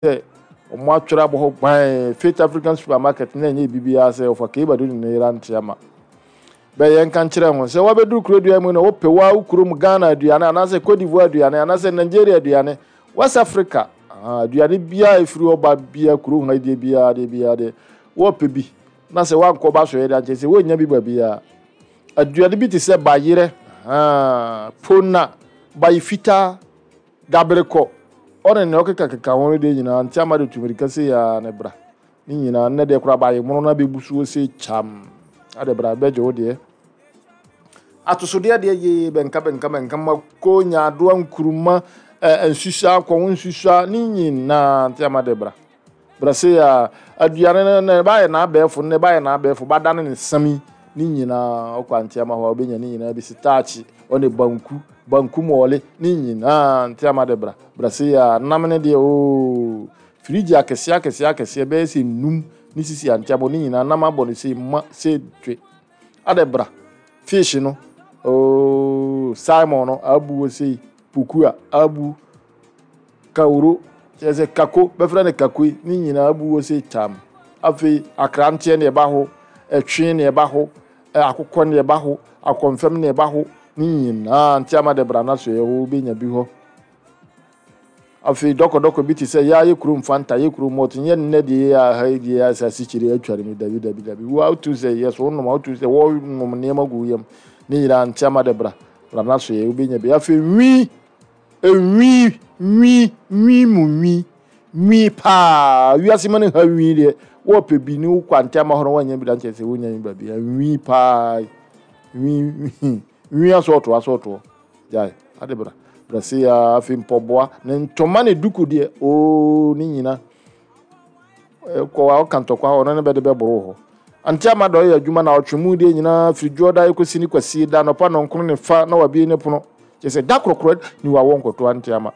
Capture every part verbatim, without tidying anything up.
Sɛ ɔmo atwerɛ abɔ hɔ gban Faith African Supermarket na ɛnyɛ biribiara sɛ ɔfa Kei Badu ne ne yere Anteama. Bɛyɛ nka nkyerɛ ho sɛ wabɛduru kuro dua mu no, wopɛ wa wo kurom Ghana aduane anaasɛ Cote d'Ivoire aduane anaasɛ Nigeria aduane, West Africa aduane biara ɛfiri ɔba biara kuro ho deɛ biara deɛ biara deɛ wɔpɛ bi na sɛ wankɔ ba so yɛ de ankyɛ sɛ wɔnnya bi ba biara. Aduane bi te sɛ bayerɛ, pona, bayi fitaa, daberekɔ, ɔne nea ɔkekakeka ho no deɛ nyinaa, Nteama de tu mirika sei a ne bra ne nyinaa. Nnɛ deɛ koraa bayi mono no abɛbu soɔ sei kyam ade bra bɛgye wo deɛ. Atosodeɛ deɛ yee bɛnka bɛnka bɛnka, mako, nyaadoa, nkuruma, nsusua, akɔho nsusua ne nyinaa, Nteama de bra bra sei a. Aduane no na ɛbaayɛ n'abɛɛfo no, ɛbaayɛ n'abɛɛfo badane ne nsam ne nyinaa, ɔkɔ Anteama hɔ a wobɛnya ne nyinaa bi. Sitaakye ɔne banku, banku mɔɔle ne nyinaa, Nteama de bra bra sei a. Nam ne deɛ ooo, firigyi akɛseɛ akɛseɛ akɛseɛ bɛyɛ sɛ num ne sisi Anteama ne nyinaa, nam abɔ no sei ma sei twe ade bra. Fish no ooo, salmon no abu wɔ sei, pukua abu, kawuro kyerɛ sɛ kako bɛfrɛ no kako yi ne nyinaa abu wɔ sei tam. Afei akranteɛ ne ɛba ho, ɛtwe ne ɛba ho, akokɔ ne ɛba ho, akɔnfɛm ne ɛba ho ne nyinaa, Nteama de bra na so yɛ hɔ wobɛnya bi hɔ. Afei dɔkɔdɔkɔ bi te sɛ yɛa yɛ kurom Fanta, yɛ kurom malt, nyɛ nnɛ deɛ yɛ aha yi deɛ asase kyerɛ atwa ne mu. Dabi dabi dabi, wo wotu sɛ yɛ so wonom a wotu sɛ wɔnom nneɛma gu yam ne nyinaa, Nteama de bra bra na so yɛ wobɛnya bi. Afei nwi enwi nwi nwi mu nwi nwi paa wiase ma ne ha nwi deɛ wɔpɛ bi ne wokɔ Anteama hɔ no wɔnyɛ bi da nkyɛn sɛ wonya bi baabi nwi paa, nwi nwi nwi asɔɔtoɔ asɔɔtoɔ gyae ade bra bra se ya. Afei mpɔboa ne ntoma ne duku deɛ oo ne nyina kɔ a ɔka ntɔkwa hɔ ɔno ne bɛde bɛboro hɔ. Anteama dɔ yɛ adwuma na ɔtwe mu deɛ nyinaa firi dwoɔ da ɛkɔsi ne kwasie da nɔpa nɔnkron ne fa na wabie ne pono kyerɛ sɛ da korɔkorɔ ne wawɔ nkɔto Anteama.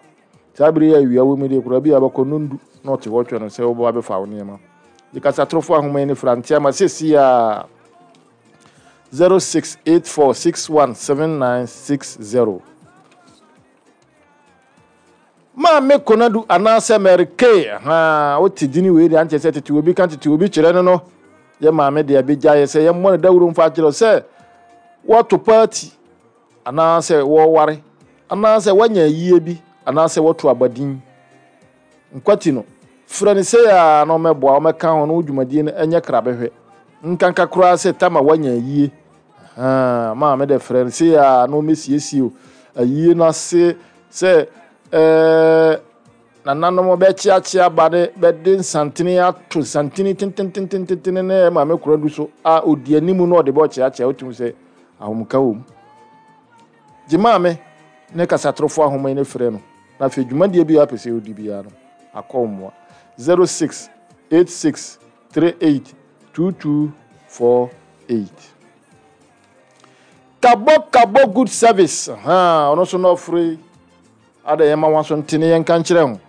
Saa bere yi awia wɔ mu deɛ koraa bi a bɛkɔ nondu na ɔte hɔ twɛ no sɛ wobɛba bɛfa wo nneɛma de kasatorofo ahoma yi ne fra Anteama sɛsi a zero six eight four six one seven nine six zero. Maame Konadu anaasɛ Mary Kay ha wote dini wei deɛ ankyɛ sɛ tete obi ka tete obi kyerɛ no no yɛ maame deɛ bɛgya yɛ sɛ yɛmmɔ no dawuro mfa akyerɛ sɛ wɔto party anaasɛ wɔware anaasɛ wɔanya yie bi anaasɛ wɔto abadin nkwati no, frɛ no sɛ a na ɔmɛboa ɔmɛka ho no wo dwumadie no ɛnyɛ krabɛhwɛ nkanka koraa sɛ tama woanya yie. Maame de frɛ no sɛ a na ɔmɛsiesie o ayie no ase sɛ ɛɛ nananom bɛkyeakyea ba ne bɛde nsantene ato nsantene tententententene ne maame kora du so a odi anim na ɔde bɛkyeakyea wotumi sɛ ahomka wɔ mu. Gye maame ne kasatorofo ahoma yi ne frɛ no na afei dwumadie bi a apɛ sɛ ɔdi biara no akɔ mmoa zero six eight six three eight two two four eight. Kabɔ Kabɔ Good Service ha ɔno nso na ɔforo ada yɛn ma wɔn so ntene yɛn nka nkyerɛ ho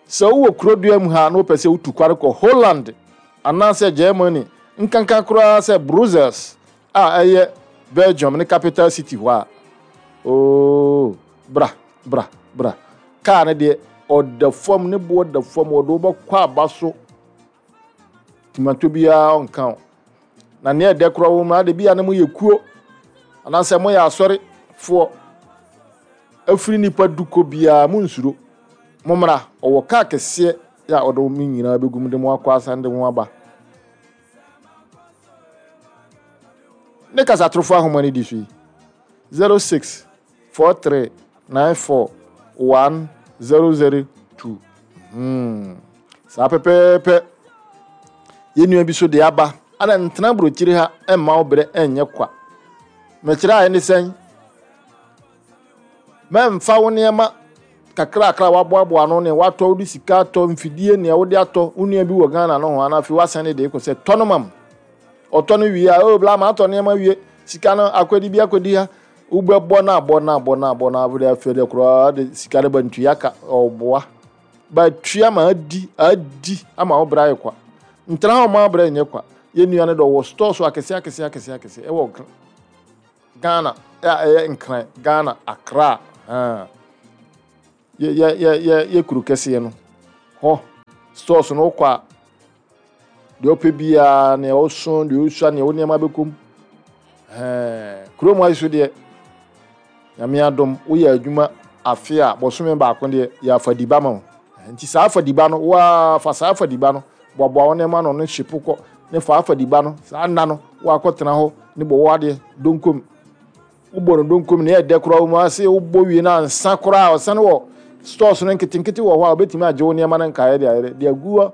sɛ wowɔ kurodua mu ha na wopɛ sɛ wotu kware kɔ Holland anaasɛ Germany, nkanka koraa sɛ Brussels a ɛyɛ Belgium ne capital city hɔ a, ooo, bra bra bra. Kaa no deɛ ɔda fam, ne boɔ da fam, ɔde wobɛkɔ aba so tomato biara ɔnka wo. Na nea ɛdɛ koraa wɔ mu ade bi a na moyɛ kuo anaasɛ moyɛ asɔrefoɔ afiri nipa du kɔ biara, mo nsuro, mommra. Ɔwɔ kaa kɛseɛ a ɔde mo nyinaa bɛgu mu de mo akɔ asan de mo aba. Ne kasatorofo ahoma no di so yi zero six four three nine four one zero zero two. hmm. Saa pɛpɛɛpɛ yɛn nua bi so de aba ana ntena aburokyiri ha mma wo berɛ nyɛ kwa. Mekyerɛ a ɛne sɛn? Mɛmfa wo nneɛma kakrakra waboaboa ano ne watɔ, wode sika atɔ mfidie nea wode atɔ wo nua bi wɔ Ghana no ho ana afei wasan ne de kɔ sɛ tɔ no mam. Ɔtɔ no wie a, oh bla ma atɔ nneɛma wie, sika no akɔdi bi akɔdi ha, wobɛbɔ no abɔ no abɔ no abɔ no afei afei de koraa de sika no ba ntua ka. Ɔboa ba tua ma adi adi ama wo bra ayɛ kwa. Ntena hɔ ma brɛ nyɛ kwa. Yɛn nua no dɔ wɔ store so akɛseɛ akɛseɛ akɛseɛ akɛseɛ ɛwɔ Ghana a ɛyɛ Nkran, Ghana Accra, yɛ yɛ yɛ yɛ kuro kɛseɛ no hɔ. Stores no wokɔ a, deɛ wopɛ biara, nea woso, deɛ wosua, nea wo nneɛma bɛkɔ mu. Ɛɛ kurom ayi so deɛ, Nyame adom, woyɛ adwuma afe a, bɔsome baako deɛ, yɛ afadiba ma wo. Nti saa afadiba no, waa fa saa afadiba no, boaboa wo nneɛma no ne hyepo kɔ, ne fa afadiba no, saa nna no, woakɔtena hɔ ne bɔ wo adeɛ donkom. Wobɔ no donkom ne ɛdɛ koraa wo mu ase, wobɔ wie no ansa koraa, ɔsane wɔ stores no nketenkete wɔ hɔ a, wobɛtumi agye wo nneɛma no nkaeɛ de ayɛ de agu hɔ,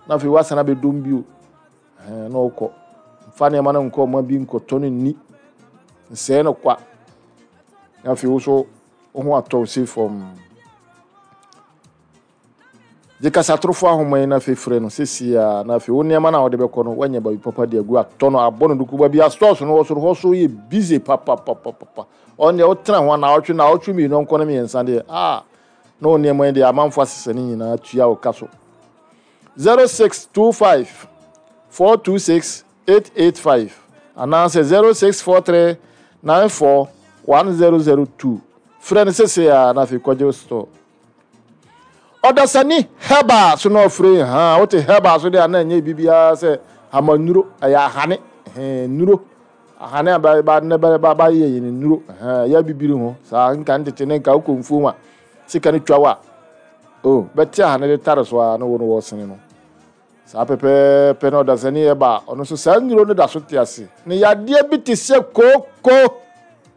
na afei woasane abɛdom bio. Ɛɛ na wokɔ. Mfa nneɛma no nkɔ ɔma bi nkɔtɔ no nni. Nsɛe no kwa. Na afei wo so wo ho atɔ wo sei fam. Gye kasatorofo ahoma yi na afei frɛ no seesei a, na afei wo nneɛma no a wode bɛkɔ no, woanya baabi papa de agu atɔ no, abɔ no duku. Baabi a stores no wɔ soro hɔ so yɛ busy papapapapa. Ɔno deɛ wotena ho a naawɔtwe, naawɔtwe mmienu nkɔ no mmiɛnsa deɛ, ah, na wo nneɛma yi deɛ amanfo asesa ne nyinaa tua wo ka so. zero six two five four two six eight eight five anaasɛ zero six four three nine four one zero zero two. Frɛ no seesei a, na afei kɔgye wo store. Ɔdasani herbal so na ɔfrɛ ha wote herbal so deɛ a, na ɛnyɛ biribiara sɛ hamanuro, ɛyɛ ahane nnuro, ahane a ba ba ne ba ba ba yɛ yɛ nnuro yɛ bibiri ho saa. Nka ntete ne nka wokɔ mfuom a, sika no twa wa o, bɛte ahane de tare so a, na wo no wɔsene no saa pɛpɛɛpɛ. Na ɔdasani herbal, ɔno nso saa nnuro no da so te ase. Ne yadeɛ bi te sɛ kooko,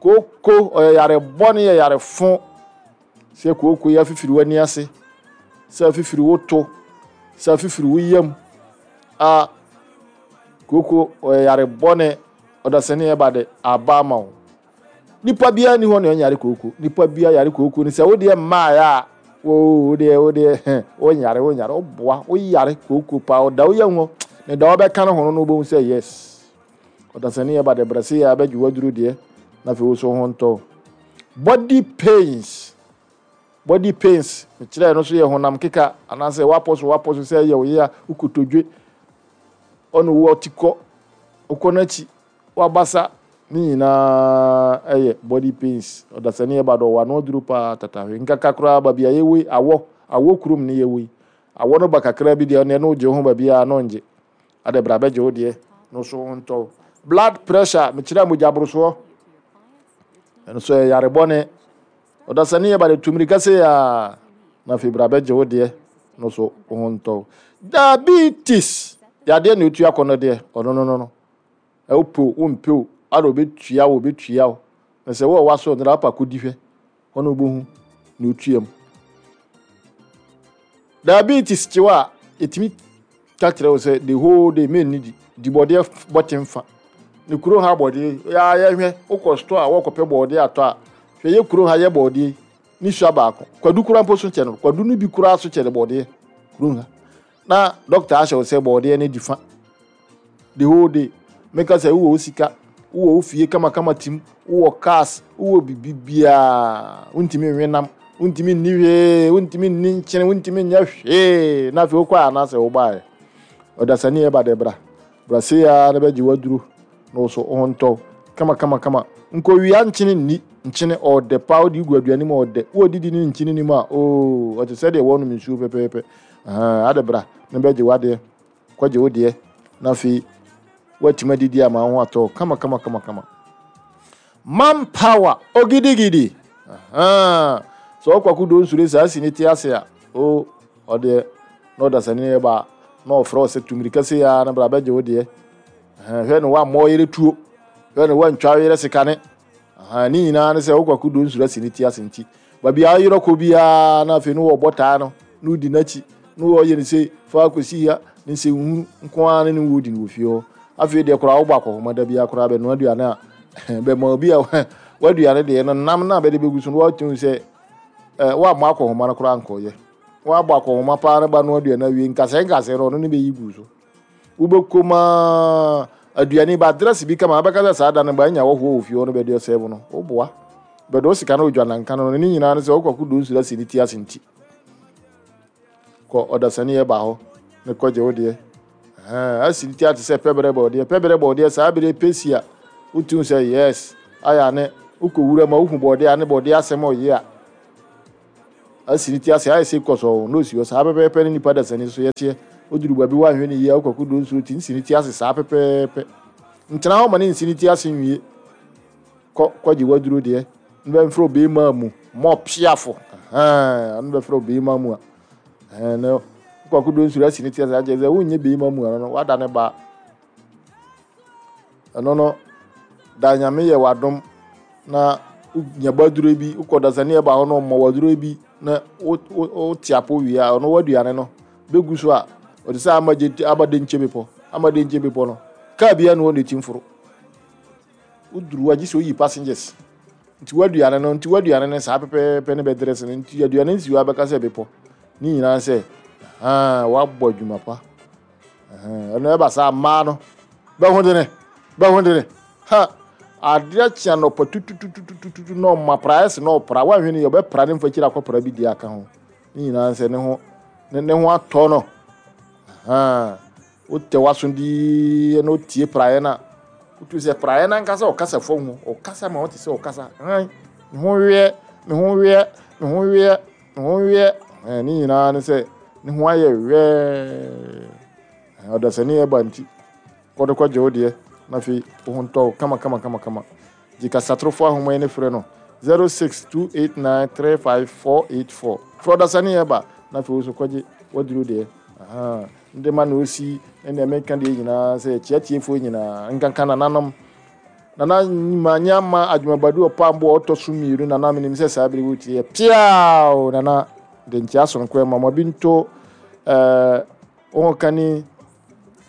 kooko ɔyɛ yare bɔne, yɛ yare fo sɛ kooko yɛ afifiri w'ani ase, sɛ afifiri wo to, sɛ afifiri wo yam a, kooko ɔyɛ yare bɔne. Ɔdasani ɛba de aba ama wo. Nipa biara ni hɔ na ɔnyare kooko. Nipa biara yare kooko ni. Sɛ wodeɛ mmaayɛ a, wo wodeɛ wodeɛ wonyare, wonyare, woboa woyare kooko paa. Ɔda wo yam hɔ ne da wɔbɛka no ho no no wobɛhu sɛ yes, ɔdasani ɛba de brɛ se yɛ abɛgye waduro deɛ, na afei wo so ho ntɔ. Body pains, body pains mekyerɛ no so yɛ honam keka anaasɛ wapɔ so, wapɔ so sɛ ɛyɛ wo yea, wokotodwe ɔne wo ɔti kɔ wokɔ n'akyi, wabasa ne nyinaa ɛyɛ body pains. Ɔdasani ɛba dɔ wɔ ano aduro paa tatahwe nkaka koraa. Baabi a yɛwɔ yi, awɔ awɔ kurom ne yɛwɔ yi, awɔ no ba kakra bi deɛ, ɔne ɛno gye ho baabi a no ngye ade bra bɛgye wo deɛ no so ho ntɔ. Blood pressure, mekyerɛ mogya borosoɔ, ɛno so yɛ yare bɔne. Ɔdasani yɛ ba de tumirika se a, na afei bra bɛgye wo deɛ no so ho ntɔ. Diabetes yadeɛ na otua kɔ no deɛ, ɔno no no no ɛwopɛ wompɛ o, ada obɛtua wo, obɛtua wo. Na sɛ wɔwɔ waso no apa kɔdi hwɛ hɔ na wobɛhu na otua mu. Diabetes kyew a, ɛtumi ka kyerɛ wo sɛ the whole day menni di di bɔdeɛ bɔte mfa ne kuro ha bɔdeɛ yɛa. Yɛhwɛ wokɔ store a, wɔkɔpɛ bɔdeɛ atɔ a, hwɛ yɛ kuro ha yɛ bɔdeɛ ne sua baako, kwadu kura mpo so kyɛ no, kwadu no bi kura so kyɛ no bɔdeɛ kuro ha. Na doctor ahyɛ wo sɛ bɔdeɛ no di fa the whole day. Meka sɛ wowɔ wo sika, wowɔ wo fie kamakama tim, wowɔ cars, wowɔ bibi biaa, wontumi nwe nam, wontumi nni hwee, wontumi nni nkyene, wontumi nyɛ hwee. Na afei wokɔ a, anaasɛ wobaeɛ, ɔdasani ɛba de bra bra sei a, na bɛgye waduro na wo so wo ho ntɔ kama kama kama. Nkɔwia nkyene nni nkyene, ɔɔdɛ paa. Wode gu aduane mu, ɔɔdɛ. Wodidi ne nkyene nim a, oo, ɔte sɛ deɛ wɔnom nsuo pɛpɛɛpɛ. Ade bra na bɛgye wadeɛ, kɔgye wo deɛ, na afei woatumi adidi ama wo ho atɔ kama kama kama kama. Man power ogidigidi sɛ ɔkɔ akodo nsure saa si ne te ase a, o ɔdeɛ na ɔdasani yɛ ba na ɔfrɛ wo sɛ tumirika se ya na bra bɛgye wo deɛ. Hwɛ ne wammɔ yere tuo, hwɛ ne wantwa yere sekane ne nyinaa ne sɛ wokɔ akodo nsure asi ne ti ase. Nti baabi a yerɛ kɔ biara na afei no wɔbɔ taa no na wodi n'akyi na wɔyɛ ne sɛ fa akɔsi ha ne nsɛnhunu nko ara ne ne wɔdi no wɔ fie hɔ. Afei deɛ koraa wobɔ akɔhoma da biara koraa bɛnoa aduane a, bɛma obi a waduane deɛ no nam no a bɛde bɛgu so no, wɔatumi sɛ woammɔ akɔhoma no koraa nkɔyɛ. Woabɔ akɔhoma paa no ba no aduane awie, nkasɛɛ nkasɛɛ no ɔno ne bɛyi gu so. Wobɛkɔ mu aduane ba dress bi kama, wabɛka sɛ saa da no ba anya wɔhoɔ wɔ fie hɔ no bɛde ɔsɛe mu no, woboa bɛde wo sika no wodwa nanka no no ne nyinaa no sɛ wokɔ akodo nsuro asi ne ti ase. Nti kɔ ɔdasani ɛba hɔ ne kɔgye wo deɛ asi ne ti ate sɛ pɛbrɛ bɔɔdeɛ, pɛbrɛ bɔɔdeɛ saa bere pɛsi a, wotum sɛ yes, ayɛ ne wokɔ wura ma wohu bɔɔdeɛ a ne bɔɔdeɛ asɛm ɔyɛ a. Asi ne ti ase ayɛ sɛ kɔ so na osi hɔ saa pɛpɛɛpɛ ne nipa dasani so yɛteɛ. Oduru baabi woanhwɛ ne yie a wokɔko do nsuo ti nsi ne ti ase saa pɛpɛɛpɛ. Ntena hɔ ma ne nsi ne ti ase nwie. Kɔ kɔgye waduro deɛ. Mbɛmfrɛ obɛɛma mu mɔ piafo. Ɛhɛn ɔno bɛfrɛ obɛɛma mu a. Ɛhɛn na wokɔko do nsuo asi ne ti ase akyerɛ sɛ wonyɛ bɛɛma mu ano no wada ne ba. Ɛno no da Nyame yɛ wadom na wonya baduro bi wokɔ dasani ɛba hɔ no ɔmmɔ waduro bi na wote apo wie a ɔno waduane no bɛgu so a ɔte sɛ ama gye aba de nkyɛ bepɔ ama de nkyɛ bepɔ no kaa bia no wɔ ne ti mforo woduru agye sɛ oyi passengers nti waduane no nti waduane no saa pɛpɛɛpɛ ne bɛdrɛs no nti aduane nsi hɔ abɛka sɛ bepɔ ne nyinaa sɛ haa wabɔ adwuma pa. Ɛno ɛba saa mmaa no bɛho dene bɛho dene ha adeɛ kyea nɔpa tutututututu na ɔma praeɛ se na ɔpra woanhwɛ no yɛ ɔbɛpra ne mfa kyiri akɔpra bi di aka ho ne nyinaa sɛ ne ho ne ne ho atɔ no. Wotɛ w'aso dii na wotie praeɛ no a wotu sɛ praeɛ no ankasa ɔkasa fam ho ɔkasa ma wote sɛ ɔkasa han me ho weɛ me ho weɛ me ho weɛ me ho weɛ. Ne nyinaa ne sɛ ne ho ayɛ wɛɛ. Ɔdasani ɛba nti kɔde kɔgye wo deɛ na afei wo ho ntɔ wo kama kama kama kama. Gye kasatorofo ahoma yi ne frɛ no zero six two eight nine three five four eight four. Frɛ ɔdasani ɛba na afei wo so kɔgye waduro deɛ. Nde ma na osi ne deɛ meka deɛ nyinaa sɛ kyiatiefoɔ nyinaa nkanka nananom nana manya ma adwumabadu ɔpambo ɔtɔ so mmienu nana menim sɛ saa bere wotie piao nana de nkyia sononko ma ma bi nto ɛɛ wɔn kani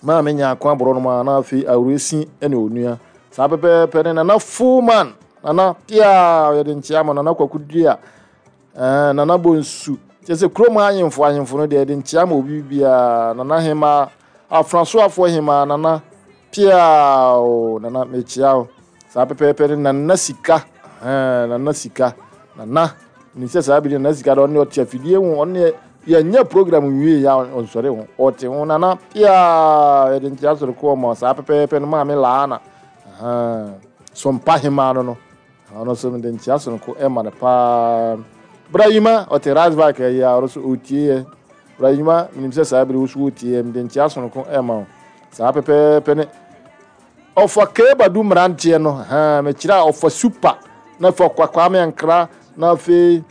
maame nya ako aborɔ no ma na afei awuresi ne onua saa pɛpɛɛpɛ ne nana fullman nana piao yɛde nkyia ma nana kwaku dua ɛɛ nana bonsu kyerɛ sɛ kurom ahemfo ahemfo no deɛ yɛde nkyia ma obi biara nana hema afrasoafoɔ hema nana piao nana mekyia wo saa pɛpɛɛpɛ ne nana sika ɛɛ nana sika nana ne sɛ saa bi nana sika de ɔne ɔte afidie ho ɔne yɛnyɛ program nwie ya ɔnsɔre ho ɔte ho nana piao yɛde nkyia soro kɔɔ ma saa pɛpɛɛpɛ no maame laana ɛɛ sompa hema no no ɔno nso mede nkyia soro ko ɛma no paa. Brahima ɔte Rasbach ɛyɛ a ɔno nso ɔtie yɛ. Brahima menim sɛ saa bere wo so wotie yɛ mede nkyia soro ko ɛma wo saa pɛpɛɛpɛ ne ɔfa kebadu mmeranteɛ no ha mekyerɛ a ɔfa super na fa Kwame Ankra na afei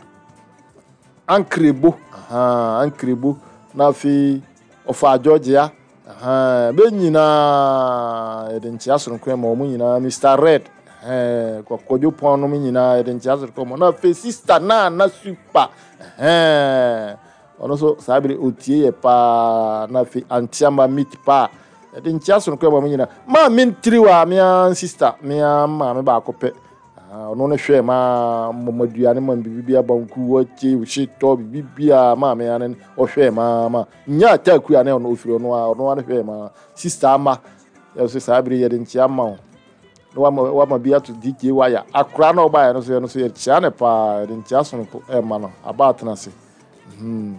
Ankrebo ha Ankrebo na afei ɔfa Georgia ha bɛ nyinaa yɛde nkyia soro ko ɛma wɔn nyinaa Mister Red eh kɔkɔdwo pɔn no nyinaa yɛde nkyia soro ko na afei sister na na super eh ɔno nso saa bere otie yɛ paa na afei antiama meat paa yɛde nkyia soro ko ma nyinaa maa me ntiri wa mea sister mea maame baako pɛ ɔno ne hwɛ ma mmaduane ma bibi abanku wɔkye hyetɔ bibi a maa mea ne ɔhwɛ ma ma nya ataku a ne ɔno ofiri ɔno a ɔno ne hwɛ ma sister ama yɛ so saa bere yɛde nkyia ma wo na wama wama bi ato D J wire akora na ɔbaeɛ no so yɛ no so yɛ kyia ne paa yɛde nkyia sonko ɛma no aba atena ase. Hmm.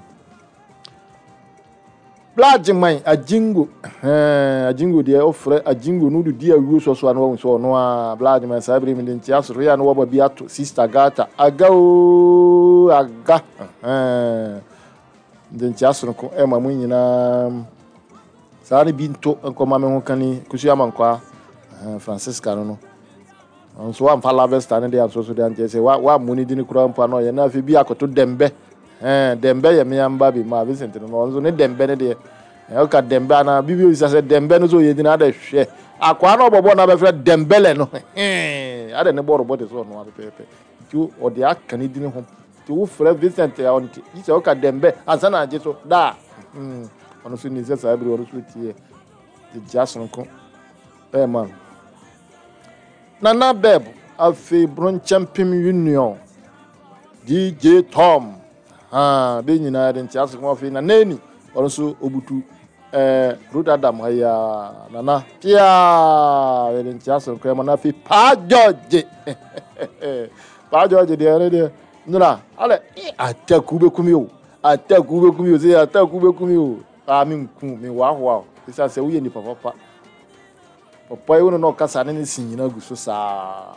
Black man ajingo eh ajingo deɛ ɔfrɛ ajingo no di awuo so so ano so ɔno a black man saa bere mi de nkyia soro ya no wɔba bi ato sister gata aga o aga eh de nkyia sonko ɛma mu nyinaa saa ne bi nto nkɔma me ho kani kusu amankwa Francisca no no nso wamfa lavesta ne de aso so de ankyɛ sɛ wa wa mu ne di ne kura mpo ano yɛ na afei bi akoto dembe eh dembe yɛ me amba bi ma Vincent no nso ne dembe ne de eh oka dembe ana bibi o sɛ dembe no so yɛ dina ade hwɛ akwa na obobo na bɛfrɛ dembele no eh ade ne bɔro bɔde so no apepepe nti o de aka ne di ne ho nti wo frɛ Vincent ya onti yi sɛ oka dembe ansa na agye so da mm ono so ni sɛ saa bere ono so tie de gya sonko eh man Nana Beb afei Bronchempim Union D J Tom ha be nyinaa de ntia so afei na nani ɔno so obutu eh Ruth Adam aya nana pia de ntia so kwa na afei Pa George Pa George de ere de nra ale ataku bekumi o ataku bekumi o se ataku bekumi o a me nku me wa ho a sɛ wo ye ni papa papa papa yi wo no kasa ne ne sin nyina gu so saa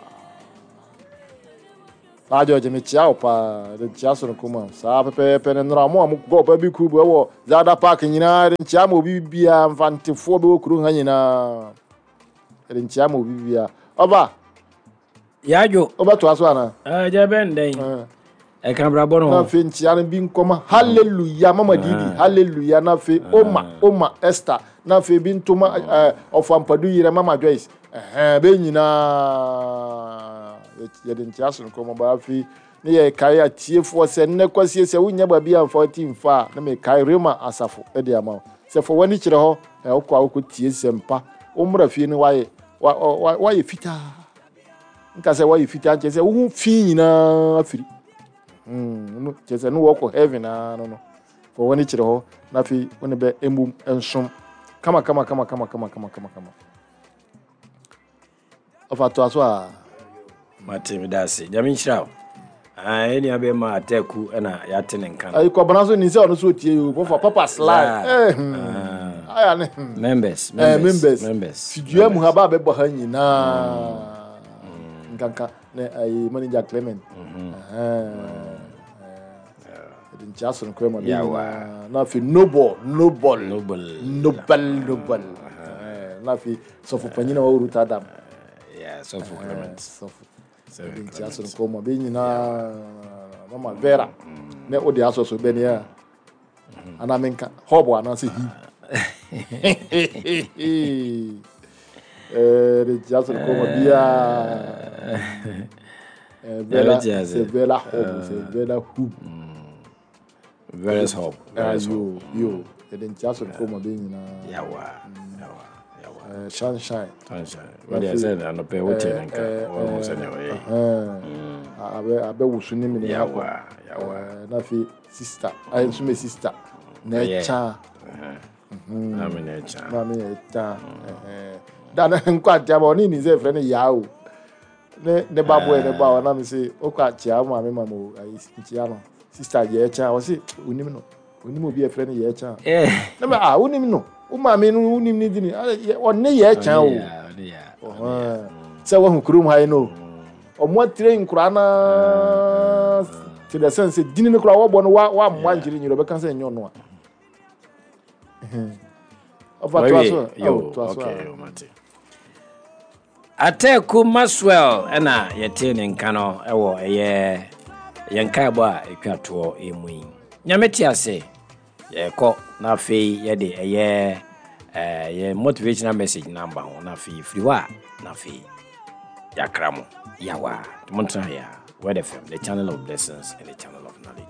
Na George, mekyia wo paa, de nkyia sononko ma saa pɛpɛɛpɛ ne nnora mo a mokɔ ɔpa bi kubu ɛwɔ Zada Park nyinaa, de nkyia ma obi biara. Mfantefoɔ bɛwɔ kurom ha nyinaa, de nkyia ma obi biara. Ɔba Yadwo. Wobɛtoa so anaa? Agya bɛn dɛn ɛka brabɔ no Na ho. Afei nkyia no bi nkɔma Hallelujah Mama Didi, Hallelujah, na afei Oma, Oma Esther, na afei bi ntoma ɛɛ Ɔfampadu yerɛ Mama Joyce, ɛhɛn, bɛɛ nyinaa yɛde nkyia so nkɔmɔ ba. Afei ne yɛ kae atiefoɔ sɛ nnɛ kwasie sɛ wonya baabi a mfa ti mfa a, na mekae Rema asafo de ama wo sɛ fa w'ani kyerɛ hɔ ɛ wokɔ a wokɔ tie sɛmpa, wommra fie no wayɛ wayɛ fitaa. Nka sɛ wayɛ fitaa nkyerɛ sɛ wohu fi nyinaa afiri no, kyerɛ sɛ ne wɔkɔ heaven aa no no fa w'ani kyerɛ hɔ na afei wo ne bɛ mmom nsom kama kama kama kama kama kama kama kama. Ɔfa toa so a. Mate, meda ase. Nyame nhyira wo. Ɛne bɛma Ataku ɛna yɛate ne nka no. Ayi kɔbana so ni sɛ ɔno so otie yi o, pɔfɔ Papa Slide. Yeah. Eh, hmm. Aya ne hmm. Members. Eh, members. Members. Members. Fidua mu ha ba bɛbɔ ha nyinaa nkanka ne ayi manager Clement. Ɛde nkyia so no kora ma bi Yawa. nyinaa, na afei Noble, Noble. Noble. Noble, Noble. Eh, na afei sɔfo panyin a wɔwɔ Rotterdam. Yeah, sɔfo Clement. Sɔfo. Sɔfo ɛde nkyia so no Clement. kora ma bi nyinaa. Mama Vera ne wode asɔ so bɛni a anaa menka hɔbo anaasɛ hi ɛde nkyia so no kora ma biaa. Vera. Ɛbɛte ase. Sɛ Vera hɔbo, sɛ Vera hub. Veras Hope. Veras Hope. Yo yo, yɛde nkyia so no kora ma bi nyinaa. Yawa. Yawa. Yawa. Eh, sunshine. Sunshine. Wode sɛ anɔpɛ wote ne nka wɔhu sɛnea ɔyɛ. Abɛ abɛwoso ne mene akɔ. Yawa. Yawa. Eh, na afei sister ayɛ nso mɛ sister na Ɛyɛ. ɛkya. Na me na ɛkya. Maame yɛ ɛkya da ne nkɔ akyea ma ɔne ni sɛ ɛfrɛ no yaa o, ne ne ba boɛ ne ba ɔnam sɛ ɔkɔ akyea wo maame ma mo ayi nkyea no sister yɛ ɛkya, ɔse onim no, onim obi a ɛfrɛ no yɛ ɛkya. Eh. Ne ma ah, wonim no, wo maame no wonim ne dini ɔne yɛ ɛkya o. Ɔne ya. Ɔhɔn. Sɛ wahu kurom ha yi no, ɔmo atire nkora naa to the sense sɛ dini no koraa wɔbɔ no wa wammoa nkyere nyere ɔbɛka sɛ nyɛ ɔno a ɔfa toa so. Yo, Oh, toa so. okay, A yo, mate. Ataku Maxwell ɛna yɛte ne nka no ɛwɔ ɛyɛ yɛn nkaebɔ a ɛtwa toɔ emu yi. Nyame te ase, yɛkɔ na afei yɛde ɛyɛ ɛɛ yɛ motivational message namba ho, na afei firi hɔ a na afei yɛakra mo. Yawa, montena yɛ a Word F M, the channel of blessings and the channel of knowledge.